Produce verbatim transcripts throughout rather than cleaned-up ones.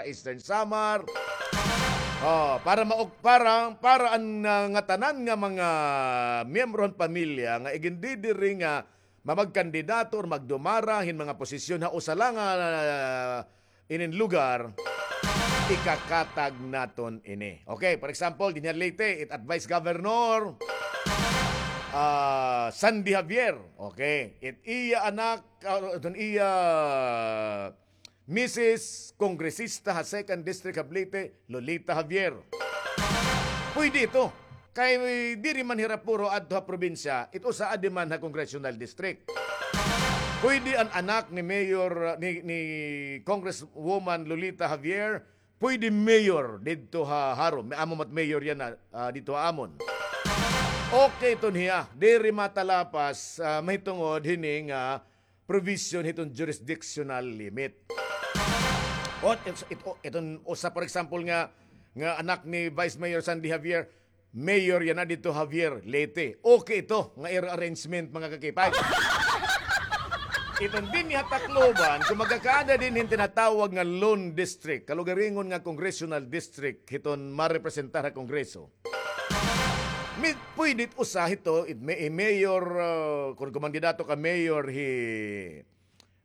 Eastern Samar. Oh, para mauk-, para, para an, ah, ngatanan nga mga miyembro han pamilya nga igindidiri nga mamagkandidato or magdumara hin mga posisyon ha usa la nga, ah, inin lugar, ikakatag naton ini. Okay, for example, dinhi ha Leyte, it advice governor, ah, Sandy Javier. Okay, it iya anak, ah, iton iya misis kongresista ha second district ha Leyte, Lolita Javier. Pwede ito. Kay diri man hira puro adto ha probinsya, it usa adi man ha congressional district. Pwede an anak ni Mayor, ni, ni Congresswoman Lolita Javier, pwede mayor didto ha Jaro. May amo mat mayor yana, ah, didto ha amon. Okay iton hiya. Diri matalapas, ah, mahitungod hini nga provision hiton jurisdictional limit. O, it-, it-, o, iton usa, for example, nga, nga anak ni Vice Mayor Sandy Javier, mayor yana didto Javier, Leyte. Okay ito nga ira arrangement, mga ka-K five. Iton dinhi ha Tacloban, kon magkakaada dinhi hin tinatawag nga lone district, kalugaringon nga congressional district, hiton marepresentar ha Kongreso. Mi-, pwede it usa hito, it may, eh, mayor, ah, kon kumandidato ka mayor hi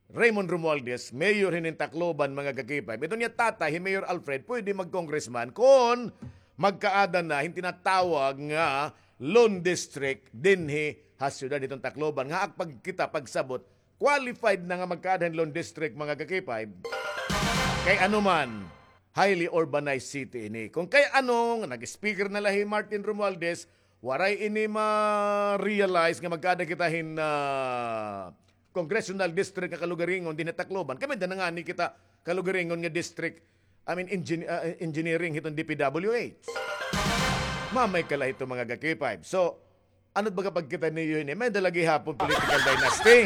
Raymond Romualdez, mayor hinin Tacloban, mga ka-K five. Iton iya tatay, hi Mayor Alfred, pwede mag-congressman kon magkaada na hin tinatawag nga lone district dinhi ha syudad hiton Tacloban. Nga ak pagkita, pagsabot, qualified na nga magkaada hin lone district, mga ka-K five. Kay ano man, highly urbanized city ini. Kon kay ano, nga nag-speaker na la hi Martin Romualdez, waray ini ma-realize nga magkaada kita hin, ah, congressional district nga kalugaringon dinhi ha Tacloban. Kay may-ada na ngani kita kalugaringon nga district, I mean, engin-, ah, engineering hiton D P W H. Mamay ka la hito, mga ka-K five. So, ano it baga pagkita niyo hini? May-ada la gihapon political dynasty.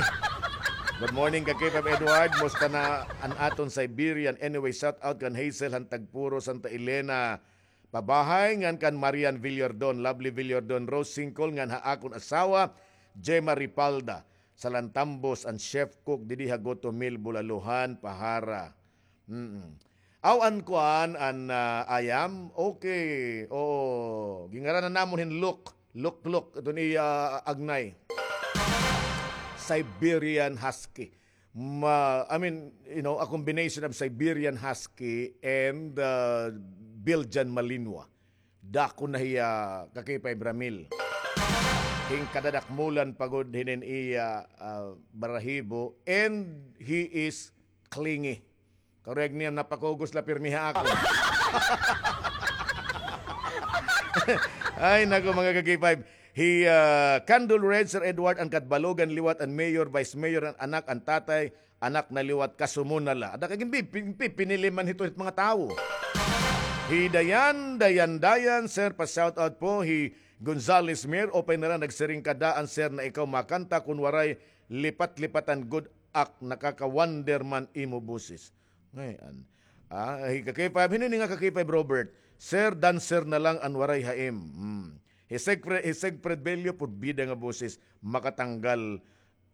Good morning, ka-K five Edward. Musta na an aton Siberian? Anyway, shout out kan Hazel han Tagpuro, Santa Elena. Pabahay ngan kan Marian Villordon, Lovely Villordon, Rose Singkol, ngan ha akon asawa, Gemma Ripalda, Salantambos, an chef cook didi ha Goto Mill, Bulaluhan, Pahara. Mm-mm. Aw, an kuan, an, ah, ayam? Okay. Oo. Gingaranan namon hin Luk. Luk-luk. Iton iya, ah, agnay. Siberian Husky. Ma-, I mean, you know, a combination of Siberian Husky and, uh, Belgian Malinois. Dako na hiya, ka-K five Ramil. Hin kadadakmulan pa gud hinin iya, ah, balahibo, and he is clingy. Correct niya, napakugos la pirmi ha akon. Ay, nako, mga ka-K five. Hi, ah, Candle Red, Sir Edward, an Catbalogan liwat, an mayor, vice mayor, an anak, an tatay, anak na liwat, kasumo na la. Ada ka gin pi-, pi-, pi-, pinili man hito hit mga tawo. Hi Dayan, Dayan, Dayan, sir, pa-shoutout po. Hi Gonzales Mir, upay na la nagsiring ka daan, sir, na ikaw makanta kun waray lipat-lipatan gud ak, nakaka-wonder man imo boses. Ngay-an. Ah, hi ka-K five, hin-o ini nga ka-K five Robert? Sir, dancer na lang an waray haim. Hmm. Hi Segfre-, hi Segfred Bello, porbida nga boses, makatanggal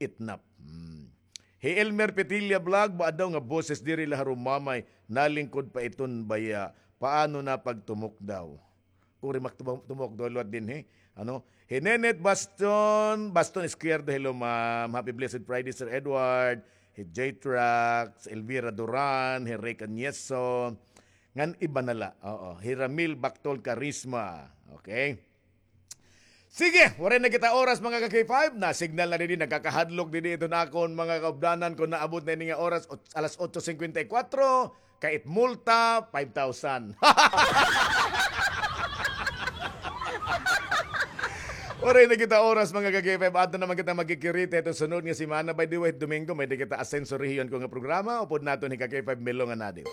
itnap. Hmm. Hi Elmer Petilla Vlog, ba daw nga boses diri la harumamay, nalingkod pa iton baya. Paano na pagtumok daw? Kuri mak-, tumok daw liwat dinhi. Ano? Hi Nenet Baston, Baston Izquierdo, hello, ma'am. Happy blessed Friday, Sir Edward. Hi J-Trax, Elvira Duran, hi Rick Añeso. Ngan iba na la. Oo. Hi Ramil Bactol Carisma. Okay. Sige, waray na kita oras, mga ka-K five. Na-signal na didi, nagkakahadlok didi iton akon mga kaupdanan kon naabot na ini nga oras, ot-, alas otso singkwenta y kwatro. Kay it multa, five thousand. Waray na kita oras, mga ka-K five. Adto naman kita magkikirita iton sunod nga semana. By the way, Domingo, may-ada kita Asenso Rehiyon Ko nga programa. Upod naton hi ka-K five Milo nga nadi.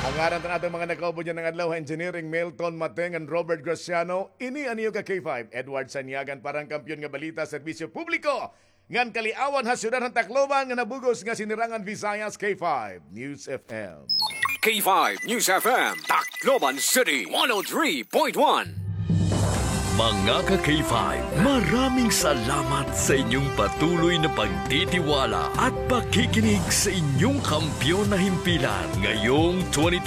An ngaran iton aton mga nakaupod yana nga adlaw, Engineering Milton Mateng and Robert Graciano. Ini an iyo ka-K five, Edward Sanyagan, para han Kampiyon nga Balita, Serbisyo Publiko ngan Kaliawan ha Syudad han Tacloban nga nabug-os nga Sinirangan Visayas, K five News F M. K five News F M, Tacloban City, one oh three point one. Mga ka-K five, maraming salamat sa inyong patuloy na pagtitiwala at pakikinig sa inyong kampiyon na himpilan ngayong twenty